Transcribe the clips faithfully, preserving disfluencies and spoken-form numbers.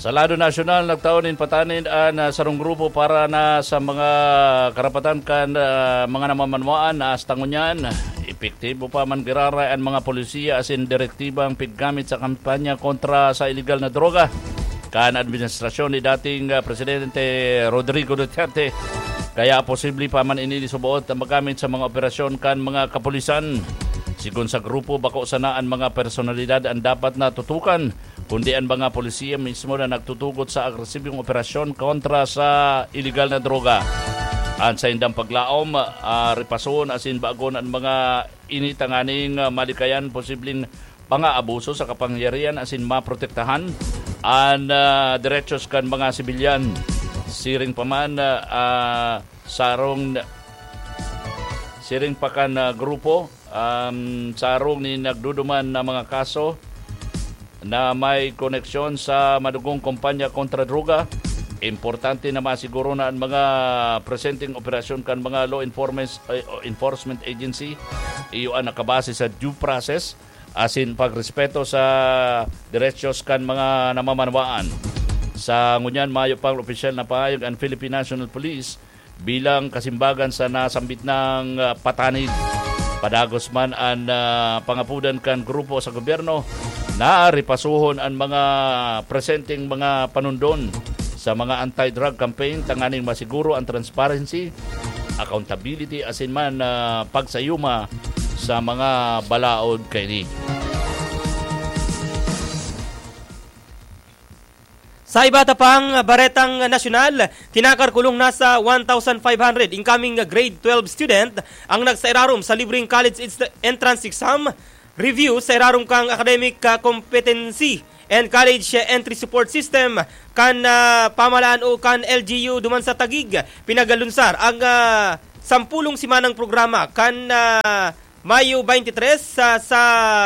Sa lado nasyonal, nagtao nin patanid an, ah, sarong grupo para na sa mga karapatan kan, ah, mga namamanwaan na hasta ngunyan, epektibo pa man giraray an mga polisiya asin direktibang piggamit sa kampanya kontra sa iligal na droga kan administrasyon ni dating, ah, Presidente Rodrigo Duterte. Kaya posible pa man ini subaot na magamit sa mga operasyon kan mga kapulisan. Sigon sa grupo, bako sana an mga personalidad an dapat na tutukan, kundi an mga polisiya mismo na nagtutugot sa agresibong operasyon kontra sa iligal na droga. An saindang paglaom, ah, ripason asin bagon an mga ini tanganing, ah, malikayan posibleng pangaabuso sa kapangyarihan asin maprotektahan an, ah, derechos kan mga sibilyan. Siring pa man, ah, ah, sarong, siring pa kan, ah, grupo, um, sarong nin nagduduman na mga kaso na may koneksyon sa madugong kampanya kontra droga. Importante na masiguro na an mga presenteng operasyon kan mga law enforcement, eh, enforcement agency iyo an nakabase sa due process asin pagrespeto sa derechos kan mga namamanwaan. Sa ngunyan, mayo pang opisyal na pahayag an Philippine National Police bilang kasimbagan sa nasambit nang, ah, patanid. Padagos man an, ah, pangapudan kan grupo sa gobyerno na ripasohon an mga presenteng mga panundon sa mga anti-drug campaign tanganing masiguro an transparency, accountability asin man, ah, pagsayuma sa mga balaod kaini. Sa iba ta pang baretang nasyonal, tinakar kulong na sa one thousand five hundred incoming grade twelve student ang nagsairarom sa libreng college entrance exam review sa irarom kang academic, ah, competency and college entry support system kan, ah, pamahalaan o kan L G U duman sa Taguig. Pinagalunsar ang, ah, sampulong simanang programa kan, ah, Mayo twenty-three sa, sa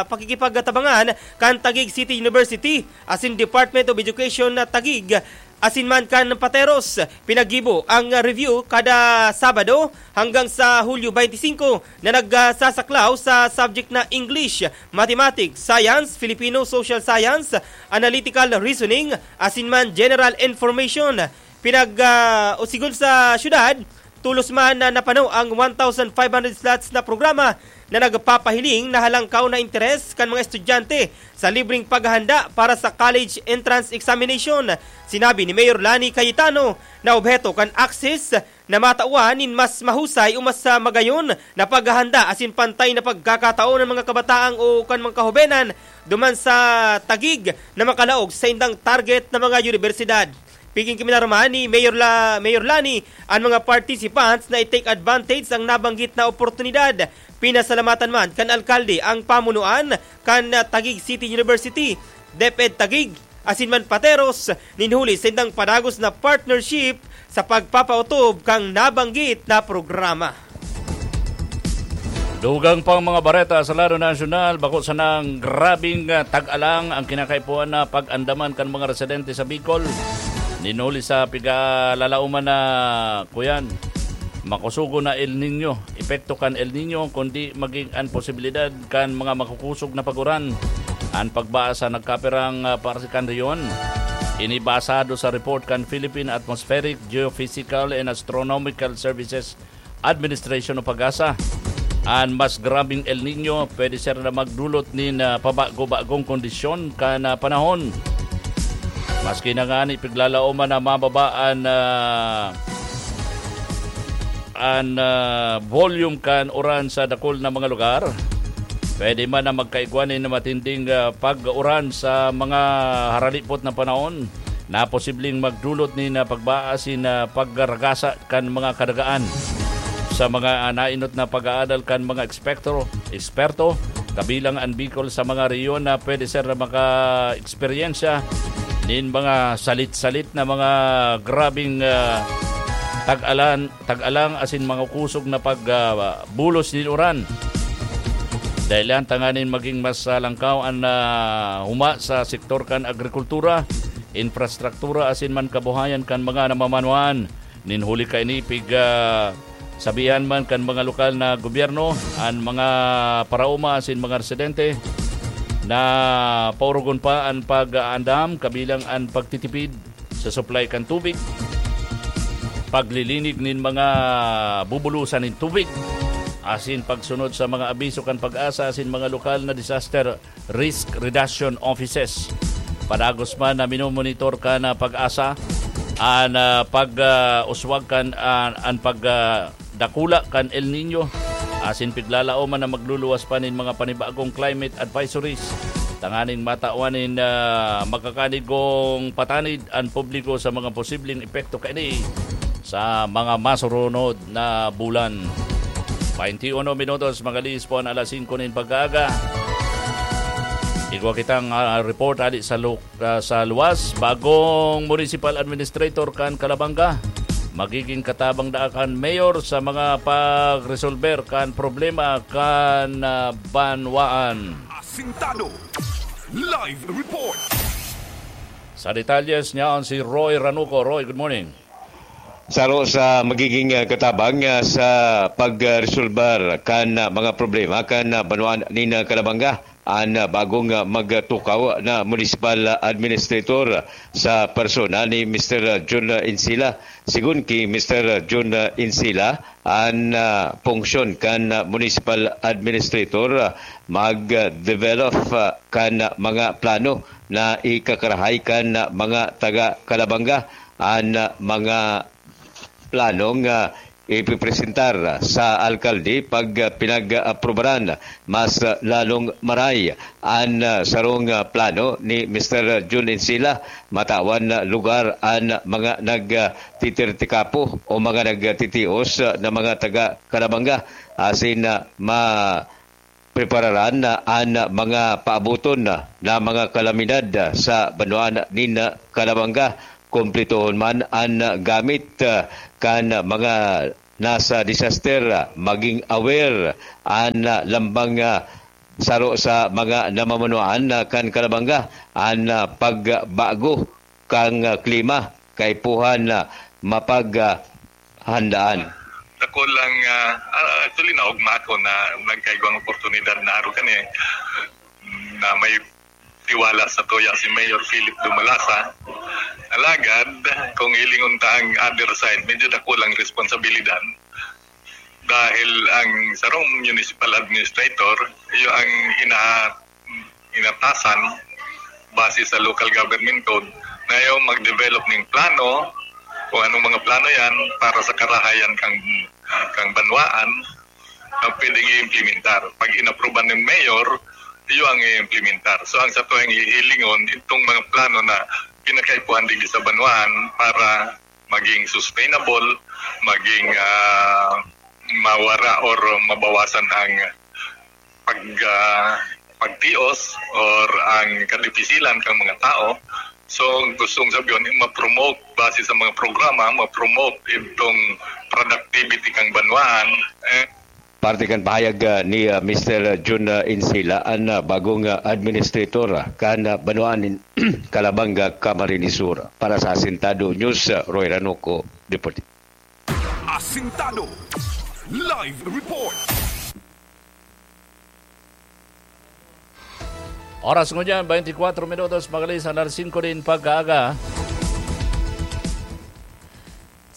pakikipagtabangan kan Taguig City University asin Department of Education na Taguig asin man kan Pateros. Pinaggibo ang review kada Sabado hanggang sa Hulyo twenty-five na nagsasaklaw sa subject na English, Mathematics, Science, Filipino, Social Science, Analytical Reasoning, asin man General Information. Pinag, ah, o sigon sa syudad, tolos man na napano ang one thousand five hundred slots na programa na nagpapahiling na halangkaw na interes kan mga estudyante sa libreng paghahanda para sa college entrance examination. Sinabi ni Mayor Lani Cayetano na obheto kan access na matawan nin mas mahusay o mas, ah, magayon na paghahanda asin pantay na pagkakataon ng mga kabataan o kan mga kahobenan duman sa Taguig na makalaog sa indang target na mga universidad. Pigin kami naruman ni Mayor, La, Mayor Lani an mga participants na i-take advantage ang nabanggit na oportunidad. Pinasalamatan man kan alkalde ang pamunuan kan, ah, Taguig City University, DepEd Taguig, asin man Pateros, nin huli sa indang padagos na partnership sa pagpapautob kang nabanggit na programa. Dugang pang mga bareta sa lado nasyonal, bako sanang grabing, ah, tag-alang ang kinakaipuhan na pag-andaman kan mga residente sa Bicol. Nin huli sa pigalalaoman na, kuyan, makusugo na El Niño, epekto kan El Niño, kundi maging an posibilidad kan mga makukusog na pag-uran. An pagbasa nagkapirang, ah, parte kan rehiyon. Ini basado sa report kan Philippine Atmospheric, Geophysical and Astronomical Services Administration o PAGASA. An mas grabeng El Niño pwede ser na magdulot nin, ah, pabago-bagong kondisyon kan, ah, panahon. Maski na ngani piglalaoman na mababa an, ah, an, ah, volume kan uran sa dakul na mga lugar, pwede man na magkaigwa nin matinding, ah, pag-uran sa mga haralipot na panahon na posibleng magdulot nin, ah, pagbaa asin, ah, pagragasa kan mga kadagaan. Sa mga, ah, nainot na pag-aadal kan mga ekspekto, eksperto, kabilang an Bicol sa mga rehiyon na pwede ser na maka-eksperyensya nin mga salit-salit na mga grabing, ah, tag-alan, tag-alang asin mga kusog na pag, ah, bulos nin uran. Dahilan tanganing maging mas, ah, langkaw an, ah, huma sa sektor kan agrikultura, infrastruktura asin man kabuhayan kan mga namamanwaan. Nin huli kaini, pig, ah, sabihan man kan mga lokal na gobyerno, an mga paraoma asin mga residente na paurugon pa an pag-aandam kabilang an pagtitipid sa supply kan tubig, paglilinig nin mga bubulusan nin tubig, asin pagsunod sa mga abiso kan PAGASA asin mga lokal na disaster risk reduction offices. Padagos man na minomonitor kan PAGASA an, ah, pag, ah, uswag kan, ah, an pag, ah, dakula kan El Niño, asin piglalaoman na magluluwas pa nin mga panibagong climate advisories tanganing matawan nin, ah, makakanigong patanid an publiko sa mga posibleng epekto kaini sa mga masurunod na bulan. Bainti uno minutos, makalihis po an alas singko nin pag-aaga. Igwa kitang, ah, report hali sa lu-, ah, sa luwas. Bagong municipal administrator kan Calabanga, magiging katabang daa kan mayor sa mga pagresolber kan problema kan, ah, banwaan. Asintado. Live report. Sa detalyes niya, si Roy Ranuco. Roy, good morning. Saro sa magiging, ah, katabang, ah, sa pagresolbar kan, ah, mga problema kan, ah, banwaan nin, ah, Calabanga, an, ah, bagong, ah, magtukaw na municipal administrator sa persona ni Mister Jun Insila. Sigon ki Mister Jun Insila, an, ah, funksyon kan, ah, municipal administrator, ah, mag-develop, ah, kan, ah, mga plano na ikakarahay kan, ah, mga taga Calabanga. An, ah, mga planong, ah, ipipresentar sa alkalde pag, ah, pinag-aprobaran. Mas, ah, lalong maray an, ah, sarong, ah, plano ni Mister Jun Insila, matawan na lugar an mga nag, ah, titirtikapo o mga nagtitios, ah, na mga taga Calabanga, asin, ah, ma-, prepararan na an mga paaboton na, na mga kalamidad sa banwaan nin Calabanga. Kumpletohon man an gamit, ah, kan mga nasa disaster, ah, maging aware an, ah, lambang, ah, saro sa mga namamanwaan, ah, kan Calabanga, an, ah, pagbago kan, ah, klima, kaipuhan na mapag, ah, handaan. Ako lang, ah, ah, actually, naogma ako na nagkaigwang oportunidad na araw kani na may tiwala sa tuya si Mayor Philip Dumalasa. Alagad, kung hilingon ta ang other side, medyo dako lang responsibilidad. Dahil ang sarong municipal administrator, iyo ang ina-, inatasan base sa local government code na iyo mag-develop ng plano, kung anong mga plano yan para sa karahayan kang, kang banwaan na pwedeng i-implementar. Pag inapruban ng mayor, iyo ang i-implementar. So, ang sa tuwing hihilingon, itong mga plano na pinakaipuhan digdi sa banwaan para maging sustainable, maging, ah, mawara or mabawasan ang pag, ah, pagtios or ang kadipisilan kang mga tao. So, gustong sabihin, ma-promote base sa mga programa, ma-promote itong productivity kang banwaan. Eh, Parte kan pahayag, ah, ni, ah, Mister Jun, ah, Insila, an, ah, bagong, ah, administrator, ah, kan, ah, banwaan nin Calabanga, Camarines Sur. Para sa Asintado News, ah, Roy Ranuco, Deportivo. Asintado. Live report. Oras ngunyan, twenty-four minutos, makalihis an alas singko nin pag-aaga.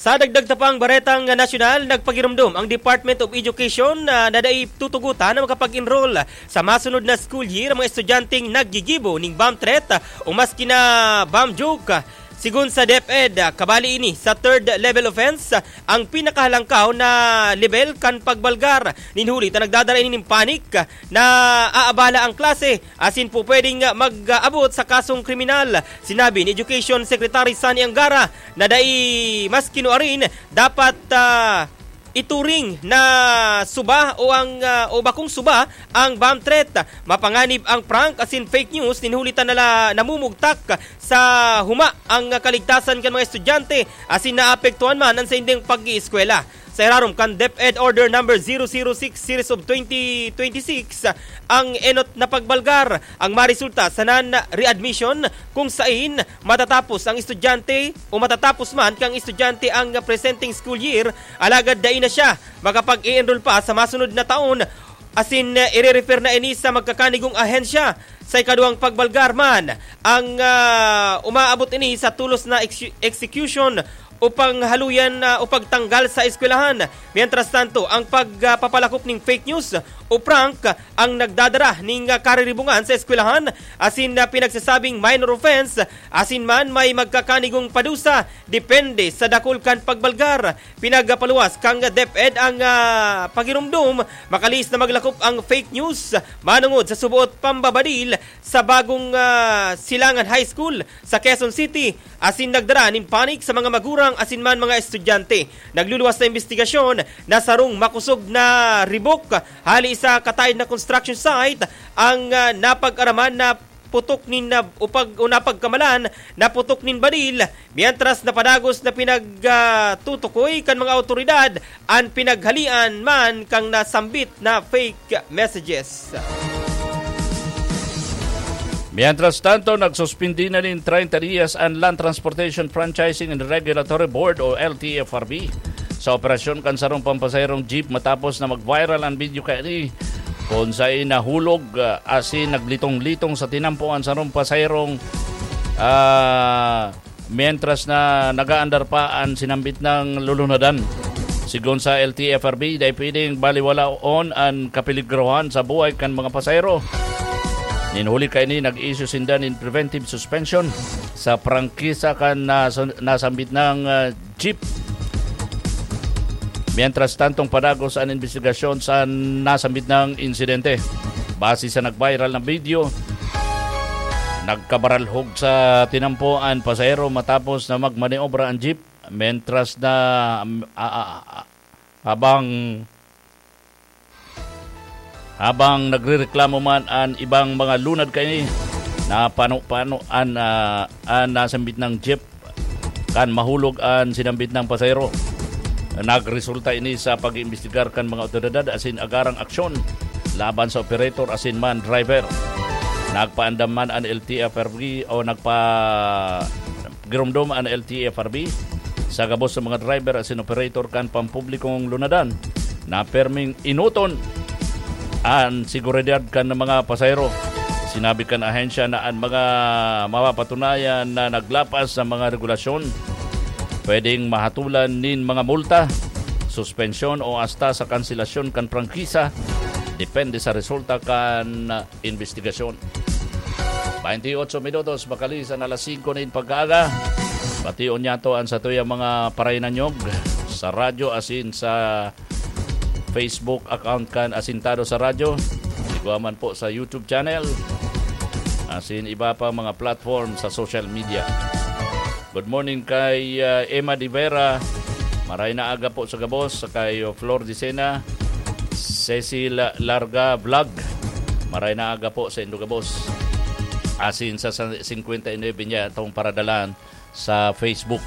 Sa dagdag ta pang baretang nasyonal, nagpagiromdom ang Department of Education na nadai tutugutan na makapag-enroll sa masunod na school year ang mga estudyanteng naggigibo ning bomb threat o maski na bomb joke. Sigon sa DepEd, kabali ini sa third level offense, ang pinakahalangkaw na level kan pagbalgar. Nin huli ta nagdadara ini nin panic na aabala ang klase asin po pwedeng mag-abot sa kasong kriminal. Sinabi ni Education Secretary Sonny Angara na dai maski nuarin dapat, ah, ituring na suba o ang, ah, o bakong suba ang bomb threat. Mapanganib ang prank asin fake news nin huli ta nala namumugtak sa huma ang kaligtasan kan mga estudyante asin naapektuhan man an sainding pag-ieskwela. Sa irarom kan DepEd Order Number zero zero six Series of twenty twenty-six, ang enot na pagbalgar ang maresulta sa non-readmission kung sain matatapos ang estudyante o matatapos man kang estudyante ang presenteng school year, alagad dai na siya makapag-e-enroll pa sa masunod na taon asin, eh, ire-refer na ini sa magkakanigong ahensya. Sa ikaduwang pagbalgar man, ang, ah, umaabot ini sa tolos na ex-, execution o panghaluyan, ah, o pagtanggal sa eskwelahan. Mientras tanto, ang pagpapalakop ning fake news o prank ang nagdadara ning, ah, kariribungan sa eskwelahan, asin na pinagsasabing minor offense, asin man may magkakanigong padusa, depende sa dakul kan pagbalgar. Pinagpaluwas kan DepEd ang, ah, pagiromdom, makalihis na maglakop ang fake news manongod sa suboot pambabadil sa bagong, ah, Silangan High School sa Quezon City, asin nagdara nin panic sa mga magurang asin man mga estudyante. Nagluluwas na imbestigasyon na sarong makosog na ribok hali sa kataed na construction site ang, ah, napag-araman na putok nin, ah, upag-, o napagkamalan na putok nin badil, mientras na padagos na pinag, ah, tutukoy kan mga awtoridad an pinaghalian man kan nasambit na fake messages. Mientras tanto, nagsuspindi na nin treinta dias an Land Transportation Franchising and Regulatory Board o L T F R B sa operasyon kan sarong pampasaherong jeep matapos na mag-viral an video kaini kun saen nahulog, ah, asin naglitong-litong sa tinampo an sarong pasaherong, ah, mientras na nag-aandar pa an sinambit na lulunadan. Sigon sa L T F R B, dai pwedeng baliwalaon an kapeligrohan sa buhay kan mga pasahero. Nin huli kaini, nag-issue sinda nin preventive suspension sa prangkisa kan nas-, nasambit na, ah, jeep. Mientras tantong padagos an imbestigasyon sa nasambit na insidente. Base sa nag-viral na video, nagkabaralhog sa tinampo an pasahero matapos na magmaniobra an jeep, mientras na, um, a-, a-, a-, habang, habang nagrereklamo man an ibang mga lunad kaini, napano-pano an, ah, an nasambit na jeep kan mahulog an sinambit na pasahero. Nagresulta ini sa pag-iimbestigar kan mga awtoridad asin agarang aksyon laban sa operator asin man driver. Nagpaandam man an L T F R B o nagpa-, giromdom an L T F R B sa gabos sa mga driver asin operator kan pampublikong lunadan na perming enoton an seguridad kan mga pasahero. Sinabi kan ahensya na an mga mapapatunayan na naglapas sa mga regulasyon pwedeng mahatulan nin mga multa, suspensyon o hasta sa kanselasyon kan prangkisa, depende sa resulta kan imbestigasyon. Baynte otso minutos, makalihis an alas singko nin pagkaaga. Bation niyato an satuyang mga parainanyog sa radyo asin sa Facebook account kan Asintado sa Radyo. Igwa man po sa YouTube channel, asin iba pa mga platform sa social media. Good morning kay, ah, Emma de Vera. Maray na aga po sa gabos, kay Flor Dicena, Cecil Larga Vlog. Maray na aga po sa indo gabos. Asin sa, sa singkwenta y nuebe niya itong paradalan sa Facebook.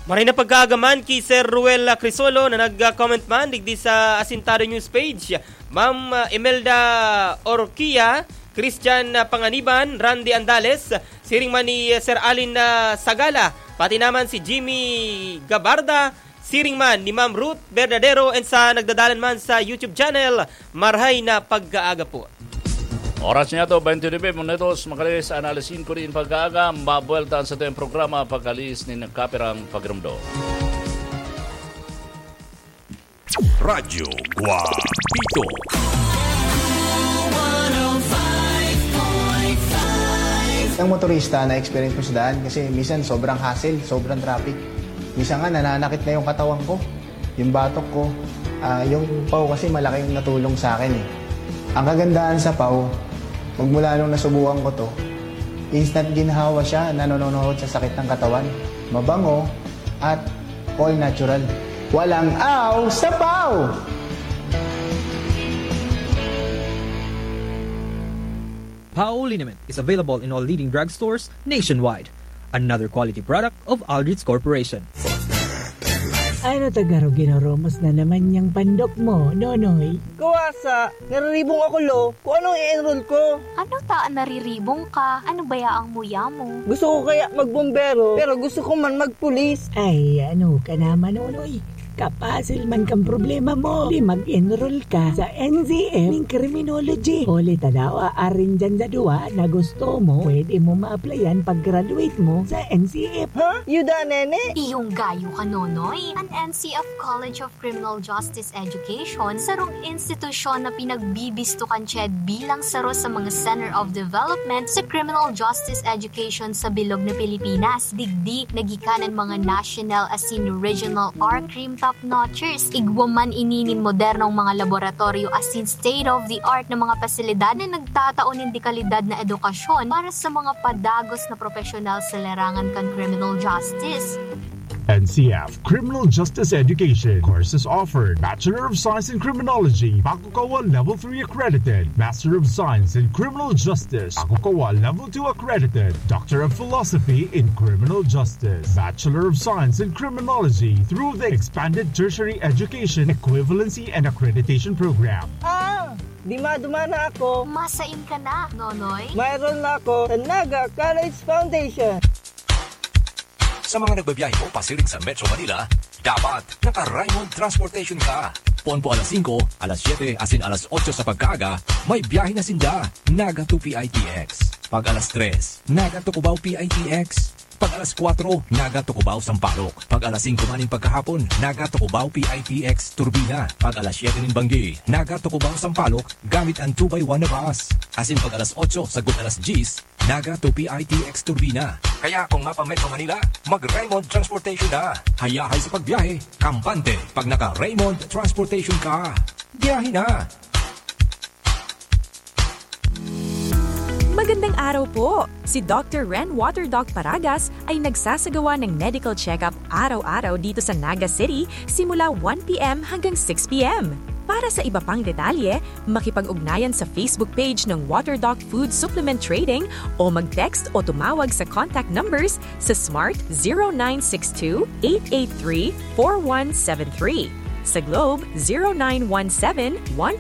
Maray na pagkaaga man ki Sir Ruel Crisolo na nag-comment man digdi sa Asintado News Page. Ma'am, ah, Imelda Orquia, Christian, ah, Panganiban, Randy Andales, siring man ni, ah, Sir Alin, ah, Sagala, pati naman si Jimmy Gabarda, siring man ni Ma'am Ruth Verdadero, and sa nagdadalan man sa YouTube channel, marhay na pagkaaga po. Oras niya to, twenty-five minutos, makalihis an alas singko nin pagkaaga, mabuwelta an satuyang programa, pagkalihis nin kapirang pagiromdom. Radyo Guapito. Ang motorista na experience ko sa daan kasi minsan sobrang hassle, sobrang traffic. Minsan nga nananakit na yung katawan ko, yung batok ko. Ah, yung paw kasi malaking natulong sa akin eh. Ang kagandahan sa paw, magmula nung nasubukan ko to, instant ginhawa siya, nanononohod sa sakit ng katawan. Mabango at all natural. Walang aw sa paw! Pao liniment is available in all leading drugstores nationwide. Another quality product of Aldrich Corporation. Ano ta garo ginoromos na naman yang pandok mo, Nonoy? Kuwasa, nariribong ako, lo. Kung anong i-enroll ko. Ano ta nariribong ka? Ano baya ang muya mo? Gusto ko kaya magbombero, pero gusto ko man magpulis. Ay, ano ka naman, Nonoy? Kapasil man kan problema mo, di mag-enroll ka sa N C F ning criminology. Huli ta daw, aarin dyan sa duwa na gusto mo, pwede mo ma-applyan pag-graduate mo sa N C F. Ha? Yuda, nene? Iyong gayo ka, Nonoy. An N C F College of Criminal Justice Education, sarong institusyon na pinagbibisto kan CHED bilang saro sa mga Center of Development sa Criminal Justice Education sa bilog na Pilipinas. Digdi, nagikanan mga national asin regional R crime top notchers. Igwa man ini nin modernong mga laboratoryo asin state-of-the-art na mga pasilidad na nagtatao nin dekalidad na edukasyon para sa mga padagos na profesional sa larangan kan criminal justice. N C F Criminal Justice Education. Courses offered: Bachelor of Science in Criminology, Bakukawa Level three accredited; Master of Science in Criminal Justice, Bakukawa Level two accredited; Doctor of Philosophy in Criminal Justice, Bachelor of Science in Criminology through the Expanded Tertiary Education Equivalency and Accreditation Program. Ah! Dima-duma na ako. Masain ka na, Nonoy? Mayroon na ako sa Naga College Foundation. Sa mga nagbabiyahe po pasiring sa Metro Manila, dapat naka-Raymond Transportation ka. Poon po alas singko, alas siyete, asin alas otso sa pagkaaga, may biyahe na sinda. Naga to P I T X. Pag alas tres, Naga to Cubao P I T X. Pag alas kwatro, Naga to Cubao Sampaloc. Pag alas singko maning pagkahapon, Naga to Cubao P I T X Turbina. Pag alas siyete nin banggi, Naga to Cubao Sampaloc gamit an two by one na bus. Asin pag alas otso sagkod alas dyes, Naga to P I T X Turbina. Kaya kung mapa-Metro Manila, mag-Raymond Transportation na. Hayahay sa pagbiyahe, kampante pag naka-Raymond Transportation ka. Biyahe na! Magandang araw po! Si Doctor Ren Water Doc Paragas ay nagsasagawa ng medical check-up araw-araw dito sa Naga City simula one p.m. hanggang six p.m. Para sa iba pang detalye, makipag-ugnayan sa Facebook page ng Water Doc Food Supplement Trading o mag-text o tumawag sa contact numbers sa Smart zero nine six two, eight eight three, four one seven three, sa Globe zero nine one seven, one